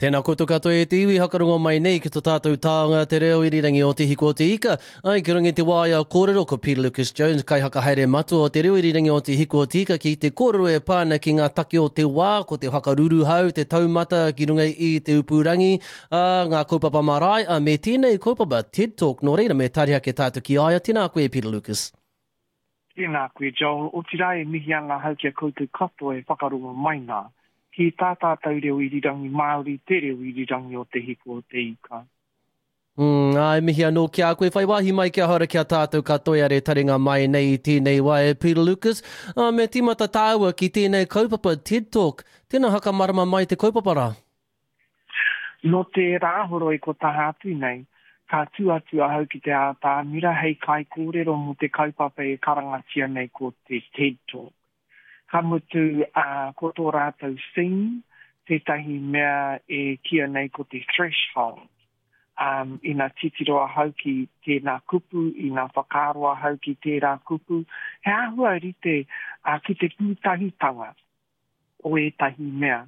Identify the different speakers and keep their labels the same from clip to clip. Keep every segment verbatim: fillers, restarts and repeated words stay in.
Speaker 1: Tēnā koutou katoa e te iwi hakarongo mai nei ki to tātou taonga te reo irirangi o Te Hiku o Te Ika. Ai, ki runga i te waea kōrero ko Peter Lucas Jones, kaihakahaere matua o te reo irirangi o Te Hiku o Te Ika ki te kōrero e pā ana ki ngā take o te wā, ko te whakaruruhau, te taumata ki runga i te upurangi, ā, ngā kaupapa marae, ā, me tēnei kaupapa TED Talk. Nō reira, me tari ake tātou ki a ia. Tēnā koe, Peter Lucas.
Speaker 2: Tēnā koe, Joel. Otirā e mihi ana ahau ki a koutou katoa e whakarongo mai nā. Ki tā tātou reo irirangi Māori, te reo irirangi o Te Hiku o Te Ika.
Speaker 1: Mm, ā, e mihi anō ki a koe. Whai wāhi mai kia hora ki a tātou katoa e taringa mai nei i tēnei wā e Peter Lucas. Ā, me tīmata tāua ki tēnei kaupapa TED Talk. Tēnā whakamarama mai te kaupapa rā.
Speaker 2: Nō te Rāhoroi ko taha atu nei, ka tū atu ahau ki te ātamira hei kaikōrero mō te kaupapa e karangatia nei ko te TED Talk. Ka mutu, ā, ko tō rātou theme, tētahi mea e kīia nei ko te threshold. Ā, ina titiro ahau ki tēnā kupu, ina whakaaro ahau ki tērā kupu, he āhua rite ki te pūtahitanga o ētahi mea.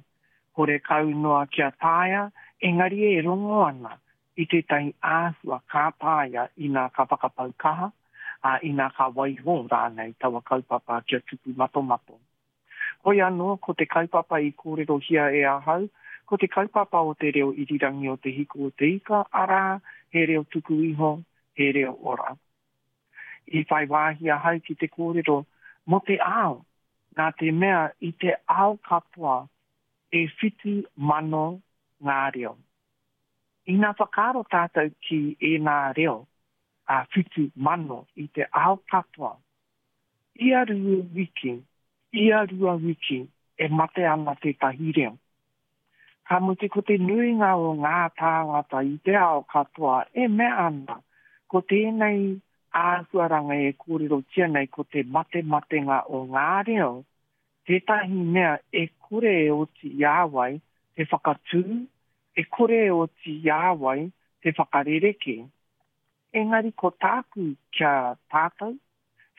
Speaker 2: Horekau noa kia taea, engari e rongo ana i tētahi āhua ka taea ina ka whakapau kaha, ā, ina ka waiho rānei taua kaupapa kia tupu matomato. Hoi anō, ko te kaupapa i kōrerohia e ahau, ko te kaupapa o te reo irirangi o Te Hiku o Te Ika, arā, he reo tuku iho, he reo ora. I whai wāhi ahau ki te kōrero mō te ao, nā te mea i te ao katoa e whitu mano ngā reo. Ina whakaaro tātou ki ēnā reo, a whitu mano i te ao katoa, ia rua wiki, ia rua wiki e mate ana tētahi reo. Ka mutu ko te nuinga o ngā tāngata i te ao katoa e mea ana ko tēnei āhuaranga e kōrerotia nei ko te matematenga o ngā reo tētahi mea e kore e oti i a wai te whakatū, e kore e oti i a wai te whakarerekē. Engari ko tāku ki a tātou,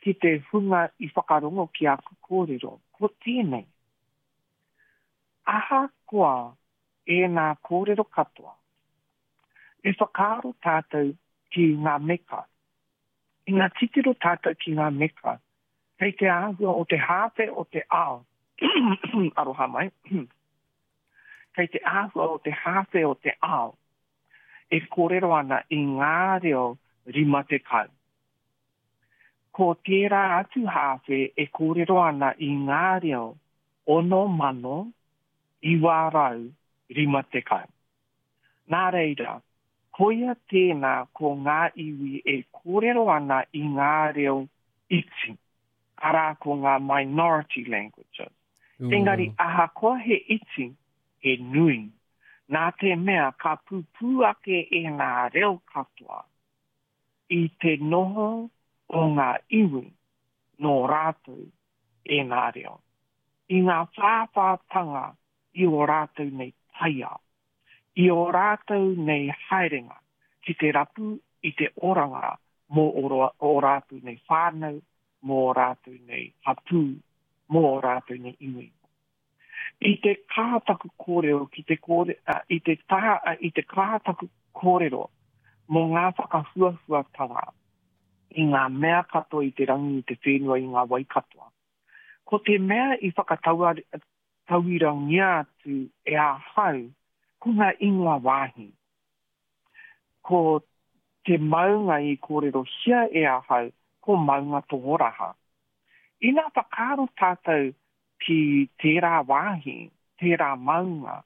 Speaker 2: ki te hunga i whakarongo ki aku kōrero, ko tēnei. Ahakoa ēnā kōrero katoa, me whakaaro tātou ki ngā meka. Ina titiro tātou ki ngā meka, kei te āhua o te hāwhe o te ao, aroha mai, kei te āhua o te hāwhe o te ao, e kōrero ana i ngā reo rima tekau. Ko tērā atu hāwhe e kōrero ana i ngā reo ono mano iwa rau rima tekau. Nā reira, koia tēnā ko ngā iwi e kōrero ana i ngā reo iti, arā ko ngā minority languages. Engari ahakoa he iti, he nui, nā te mea ka pupū ake ēnā reo katoa i te noho o ngā iwi nō rātou ēnā reo, i ngā whāwhātanga i ō rātou nei taiao, i ō rātou nei haerenga ki te rapu i te oranga mō ō rātou nei whānau, mō ō rātou nei hapū, mō ō rātou nei iwi. I te kaha taku kōrero ki te kōre, uh, i te taha, uh, i te kaha taku kōrero mō ngā whakahuahuatanga i ngā mea katoa i te rangi, i te whenua, i ngā wai katoa. Ko te mea i whakatauirangia atu e ahau, ko ngā ingoa wāhi. Ko te maunga i kōrerohia e ahau, ko Maunga Tohoraha. Ina whakaaro tātou ki tērā wāhi, tērā maunga,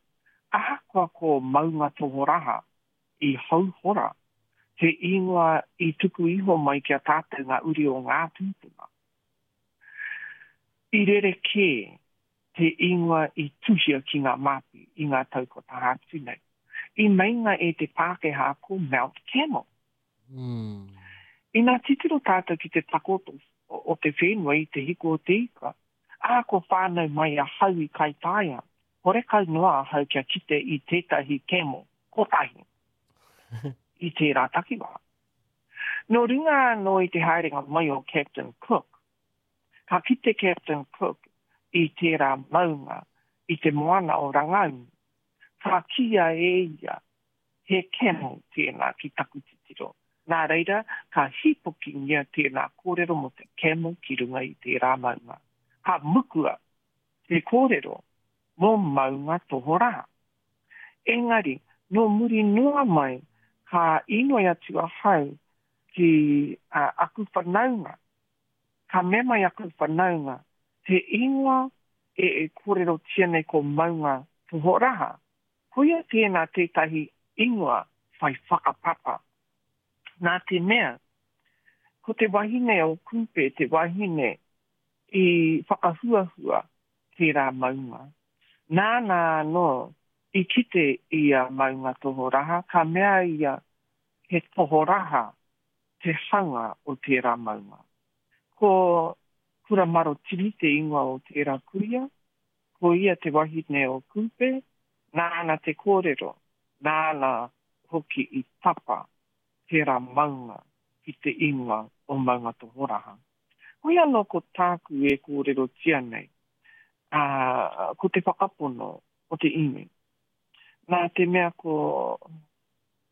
Speaker 2: ahakoa ko Maunga Tohoraha i Hauhora, te ingoa i tuku iho mai ki a tātou ngā uri o ngā tūpuna. I rerekē te ingoa i tuhia ki ngā māpi i ngā tau kua taha atu nei. I meinga e te Pākehā ko Mount Camel.
Speaker 1: Mm.
Speaker 2: Ina titiro tātou ki te takoto o te whenua i te hiku o te ika, ā, kua whānau mai ahau i Kaitaia, horekau noa ahau kia kite i tētahi camel kotahi i tērā takiwā. Nō runga anō i te haerenga mai o Captain Cook, ka kite Captain Cook i tērā maunga i te moana o Rangaunu, Ka kīia e ia, he camel tēnā ki taku titiro. Nā reira, ka hīpokingia tēnā kōrero mō te camel ki runga i tērā maunga. Ka mukua te kōrero mō Maunga Tohorā. Engari, nō muri noa mai ka inoi atu ahau ki uh, aku whanaunga. Ka mea mai aku whanaunga, te ingoa e, e kōrerotia nei ko Maunga Tohoraha. Koia tēnā tētahi ingoa whai whakapapa. Nā te mea, ko te wahine o Kupe, te wahine i whakahuahua tērā maunga. Nāna anō i kite i a Maunga Tohoraha, ka mea ia he tohoraha te hanga o tērā maunga. Ko Kuramarotiri te ingoa o tērā kuia, ko ia te wahine o Kupe, nāna te kōrero, nāna hoki i tapa tērā maunga ki te ingoa o Maunga Tohoraha. Hoi anō ko tāku e kōrerotia nei, ā, ko te whakapono o te iwi. Nā te mea ko,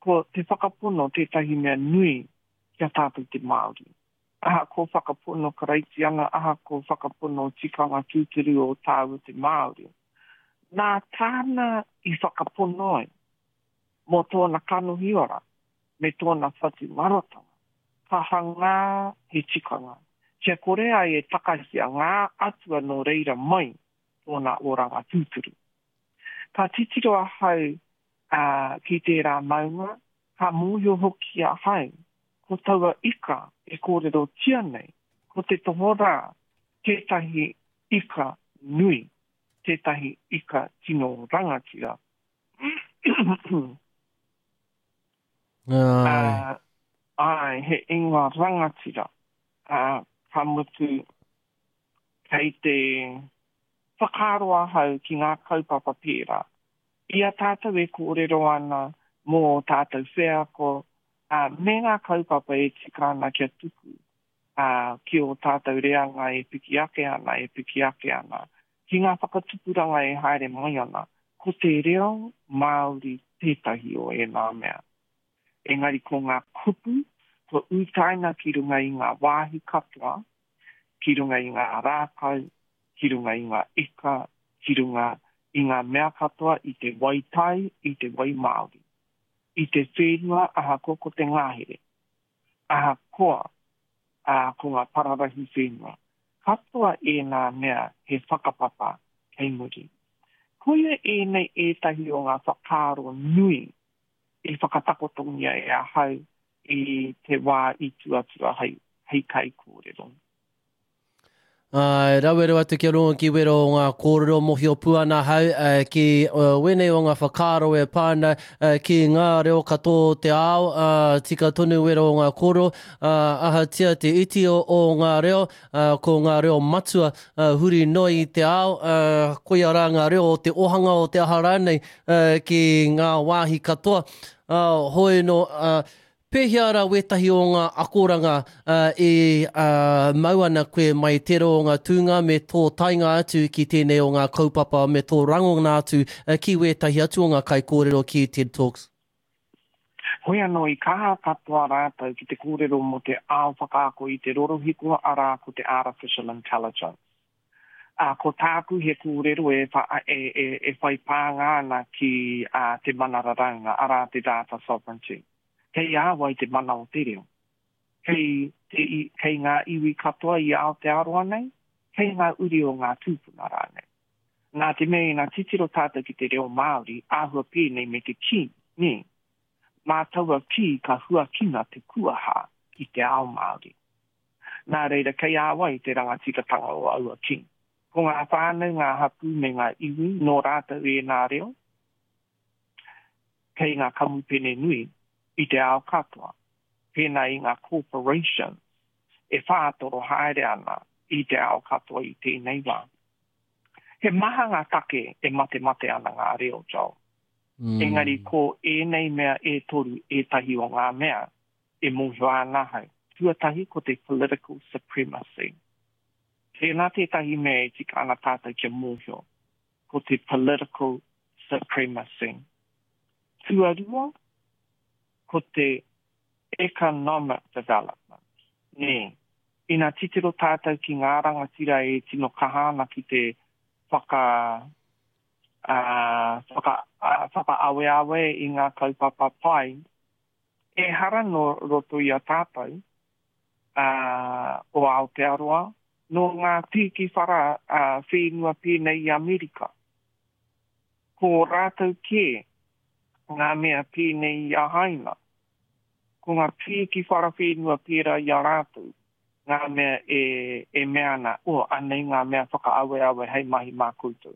Speaker 2: ko te whakapono tētahi mea nui ki a tātou te Māori. Ahakoa whakapono Karaitiana, ahakoa whakapono tikanga tūturu o tāua te Māori. Nā tāna i whakapono ai mō tōna kanohi ora me tōna whatumarotanga, ka hangā he tikanga, kia kore ai e takahia ngā atua nō reira mai tōna oranga tūturu. Ka titiro ahau uh, ki tērā maunga, ka mōhio hoki ahau, ko taua ika e kōrerotia nei, ko te tohorā tētahi ika nui, tētahi ika tino rangatira.
Speaker 1: Ai.
Speaker 2: Uh, ai, he ingoa rangatira. Uh, ka mutu, kei te whakaaro ahau ki ngā kaupapa pērā. I a tātou e kōrero ana mō tātou wheako, uh, me ngā kaupapa e tika ana kia tuku uh, ki o tātou reanga e piki ake ana, e piki ake ana, ki ngā whakatupuranga e haere mai ana, ko te reo Māori tētahi o ēnā mea. Engari ko ngā kupu, kua utaina ki runga i ngā wāhi katoa, ki runga i ngā rākau, ki runga i ngā ika, ki runga i ngā mea katoa i te wai tai, i te wai Māori. I te whenua ahakoa ko te ngahere, ahakoa ā, ko ngā pararahi whenua. Katoa ēnā mea he whakapapa kei muri. Koia ēnei ētahi o ngā whakaaro nui i whakatakotongia e ahau i te wā i tū atu ahau hei kaikōrero.
Speaker 1: Ai, rawe rawa atu kia rongo ki wera o ngā kōrero mohio pū ana hau uh, ki uh, wēnei o ngā whakaaro e pā ana uh, ki ngā reo katoa o te ao, uh, tika tonu wera o ngā kōrero, uh, ahatia te iti o, o ngā reo, uh, ko ngā reo matua uh, huri noa i te ao, uh, koia rā ngā reo o te ohanga o te aha rānei uh, ki ngā wāhi katoa. Uh, hoi no, uh, pēhea rā wētahi o ngā akoranga uh, e uh, mau ana koe mai tērā o ngā tūnga me tō taenga atu ki tēnei o ngā kaupapa me tō rangona atu uh, ki wētahi atu o ngā kaikōrero ki TED Talks?
Speaker 2: Hoi anō i kaha katoa rātou ki te kōrero mō te ao whakaako i te rorohiko, arā ko te artificial intelligence. Uh, ko tāku he kōrero e, wha, e, e, e whai pānga ana ki uh, te mana raraunga, arā te data sovereignty. Kei a wai te mana o te reo. Kei, te, kei ngā iwi katoa i Aotearoa nei, kei ngā uri o ngā tūpuna rānei. Nā te mea ina titiro tātou ki te reo Māori, āhua pēnei me te kī, nē. Mā taua kī ka huakina te kuaha ki te ao Māori. Nā reira, kei a wai te rangatiratanga o aua kī. Ko ngā whānau, ngā hapū me ngā iwi, nō rātou ēnā reo, kei ngā kamupene nui i te ao katoa, pēnā i ngā corporations e whātoro haere ana i te ao katoa i tēnei wā. He maha ngā take e matemate ana ngā reo, Joel.
Speaker 1: Mm.
Speaker 2: Engari ko ēnei mea e toru ētahi o ngā mea e mōhio ana ahau. Tuatahi ko te political supremacy. Tēnā tētahi mea e tika ana tātou kia mōhio, ko te political supremacy. Tuarua, ko te economic development. Nē. Ina titiro tātou ki ngā rangatira e tino kaha ana ki te whaka, uh, whaka, uh, whakaaweawe i ngā kaupapa pai, ehara nō roto i a tātou uh, o Aotearoa, nō ngā pīki whara uh, whenua pēnei i Amerika. Ko rātou kē ngā mea pēnei i a Haina. Ko ngā pīki whara whenua pērā i a rātou, ngā mea e, e mea ana, o, anei ngā mea whakaaweawe hei mahi mā koutou.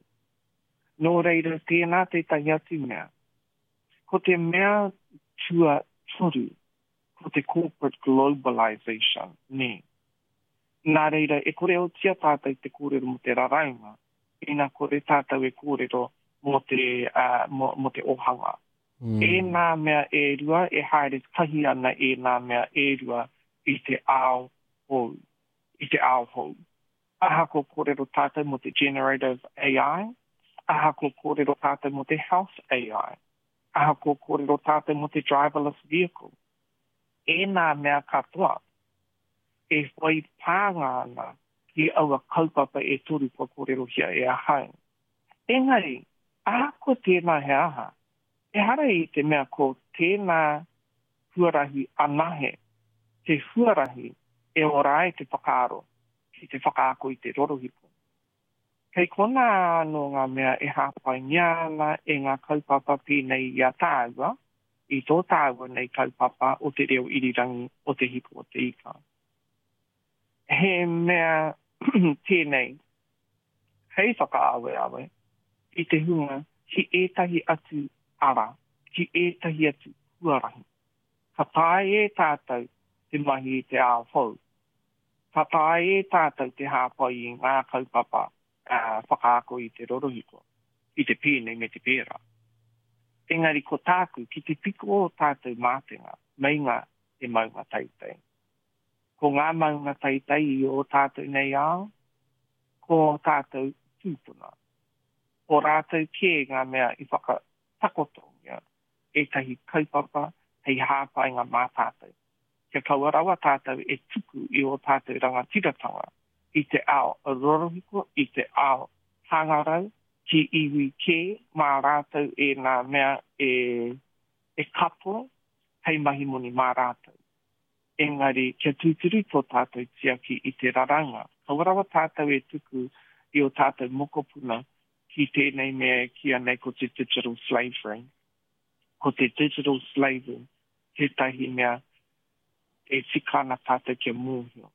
Speaker 2: Nō reira, tēnā tētahi atu mea. Ko te mea tuatoru, ko te corporate globalization, nē. Nā reira, e kore otia tātou te kōrero mō te raraunga, ina kore tātou e kōrero mō te, uh, mō, mō te ohanga. Mm. Ēnā mea e rua, e haere tahi ana ēnā mea e rua i te ao hou, i te ao hou. Ahakoa kōrero tātou mō te generative A I, ahakoa kōrero tātou mō te health A I, ahakoa kōrero tātou mō te driverless vehicle. Ēnā mea katoa e whai pānga ana ki aua kaupapa e toru kua kōrerohia e ahau. Engari, ahakoa tēnā he aha, ehara i te mea ko tēnā huarahi anahe, te huarahi e ora ai te whakaaro ki te whakaako i te rorohiko. Kei konā anō ngā mea e hāpaingia ana e ngā kaupapa pēnei i a tāua, i tō tāua nei kaupapa o te reo irirangi o Te Hiku o Te Ika. He mea tēnei hei whakaaweawe i te hunga ki ētahi atu ara, ki ētahi atu huarahi. Ka taea e tātou te mahi i te ao hou. Ka taea e tātou te hāpai i ngā kaupapa uh, whakaako i te rorohiko, i te pēnei me te pērā. Engari ko tāku, ki te piko o tātou mātenga, meinga te maunga teitei. Ko ngā maunga teitei i o tātou nei ao, ko tātou tūpuna. Ko rātou kē ngā mea i whakatakotongia ētahi kaupapa hei hāpainga mā tātou. Kia kaua rawa tātou e tuku i o tātou rangatiratanga i te ao rorohiko, i te ao hangarau, ki iwi kē mā rātou e ngā mea e, e kapo hei mahi moni mā rātou. Engari, kia tūturu tō tātou tiaki i te raranga. Kaua rawa tātou e tuku i o tātou mokopuna ki tēnei mea ki anei ko te digital slavery. Ko te digital slavery tētahi mea e tika ana tātou kia mōhio.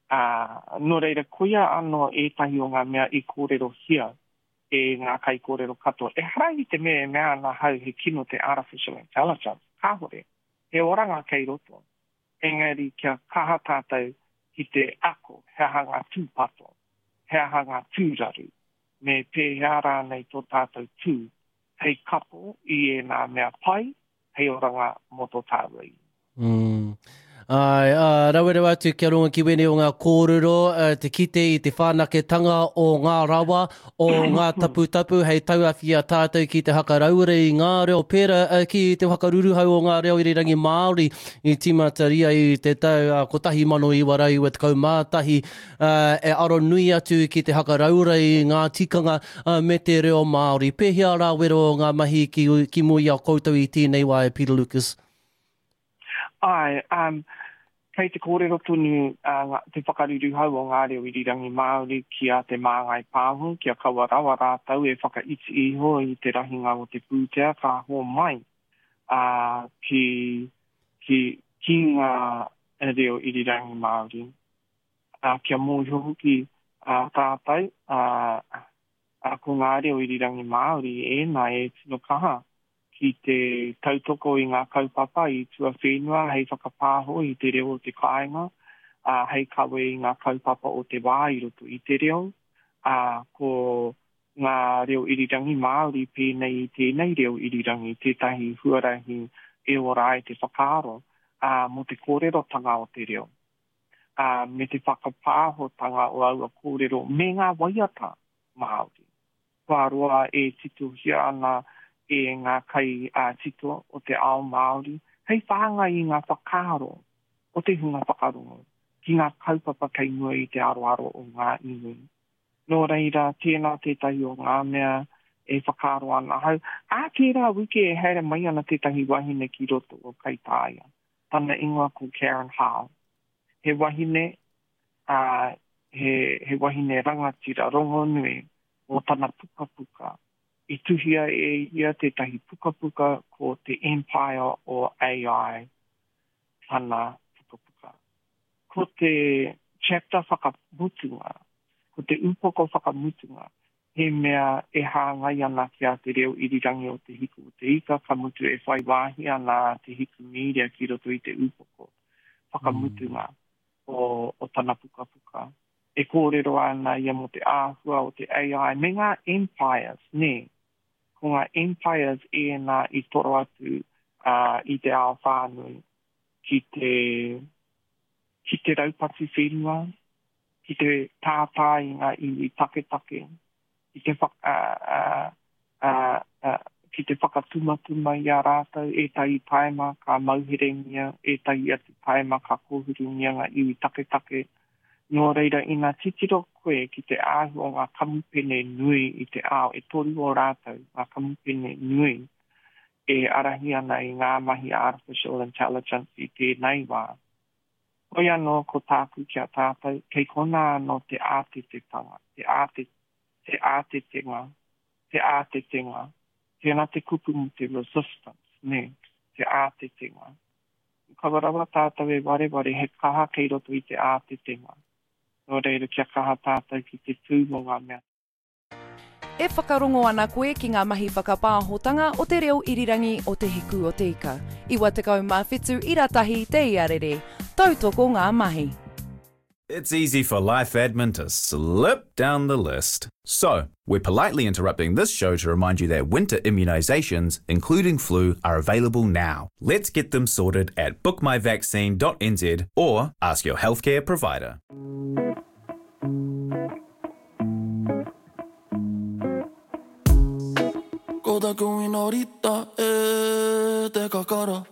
Speaker 2: Uh, nō reira, koia anō ētahi o ngā mea i kōrerohia e ngā kaikōrero katoa. Ehara i te mea e mea ana hau he kino te artificial intelligence. Kāhore, he oranga kei roto. Engari kia kaha tātou ki te ako, he aha ngā tūpato, he aha ngā tūraru, me pēhea rānei tō tātou tū, hei kapo i ēnā mea pai, hei oranga mō tō tāua i.
Speaker 1: Mm. Ai, uh, rawe rawa atu kia rongo ki wēnei o ngā kōrero, uh, te kite i te whanaketanga o ngā rawa, o ngā taputapu, hei tauawhi a tātou ki te hakarauora i ngā reo pērā uh, ki te whakaruruhau o ngā reo irirangi Māori i tīmataria i te tau uh, kotahi mano iwa rau iwa tekau mā tahi, uh, e aro nui atu ki te hakarauora i ngā tikanga uh, me te reo Māori. Pēhea rā wero o ngā mahi ki, ki mua i a koutou i tēnei wā e Peter Lucas?
Speaker 2: Ai, um, kei te kōrero tonu uh, te whakaruruhau o ngā reo irirangi Māori ki a Te Māngai Pāho, kia kaua rawa rātou e whakaiti iho i te rahinga o te pūtea ka hō mai uh, ki, ki, ki ngā reo irirangi Māori. Uh, kia mōhio hoki uh, tātou uh, uh, ko ngā reo irirangi Māori ēnā e tino kaha ki te tautoko i ngā kaupapa i tuawhenua hei whakapāho i te reo o te kāinga, uh, hei kawe i ngā kaupapa o te wā i roto i te reo, uh, ko ngā reo irirangi Māori pēnei i tēnei reo irirangi, tētahi huarahi e ora ai te whakaaro uh, mō te kōrerotanga o te reo, uh, me te whakapāhotanga o aua kōrero me ngā waiata Māori. Kua roa e titohia ana e ngā kai uh, tito o te ao Māori, hei whāngai i ngā whakaaro o te hunga whakarongo, ki ngā kaupapa kei mua i te aroaro o ngā iwi. Nō reira, tēnā tētahi o ngā mea e whakaaro ana ahau. Ā tērā wiki e haere mai ana tētahi wahine ki roto o Kaitāia. Tana ingoa ko Karen Hao. He wahine, uh, he, he wahine rangatira rongonui mō tana pukapuka. I tuhia e ia tētahi pukapuka ko te Empire o A I tana pukapuka. Ko te chapter whakamutunga, ko te upoko whakamutunga, he mea e hāngai ana ki a Te Reo Irirangi o Te Hiku o Te Ika, ka mutu e whai wāhi ana Te Hiku Media ki roto i te upoko whakamutunga mm. o, o tana pukapuka. E kōrero ana ia mō te āhua o te A I me ngā empires, nē. Ko ngā empires ēnā i toro atu uh, i te ao whānui ki te, ki te raupatu whenua, ki te tātā i ngā iwi taketake, ki te, whaka, uh, uh, uh, ki te whakatumatuma i a rātou, ētahi taima ka mauherengia, ētahi atu taima ka kōhurungia ngā iwi taketake. Nō reira, ina titiro koe ki te āhua o ngā kamupene nui i te ao, e toru o rātou, ngā kamupene nui, e arahi ana i ngā mahi artificial intelligence i tēnei wā. Hoi anō ko tāku ki a tātou, kei konā anō te ātetetanga, te āte, te ātetenga, te ātetenga, tēnā te kupu mō te resistance, nē, te ātetenga. Kaua rawa tātou e wareware he kaha kei roto i te ātetenga. Nō reira, kia kaha tātou ki te tū mō ngā mea.
Speaker 3: E whakarongo ana koe ki ngā mahi whakapāhotanga o te reo irirangi o Te Hiku o Te Ika. Iwa tekau mā whitu ira tahi te iarere. Tautoko ngā mahi.
Speaker 4: It's easy for life admin to slip down the list. So, we're politely interrupting this show to remind you that winter immunizations, including flu, are available now. Let's get them sorted at book my vaccine dot N Z or ask your healthcare provider.
Speaker 5: Ko taku inorita e te kakara.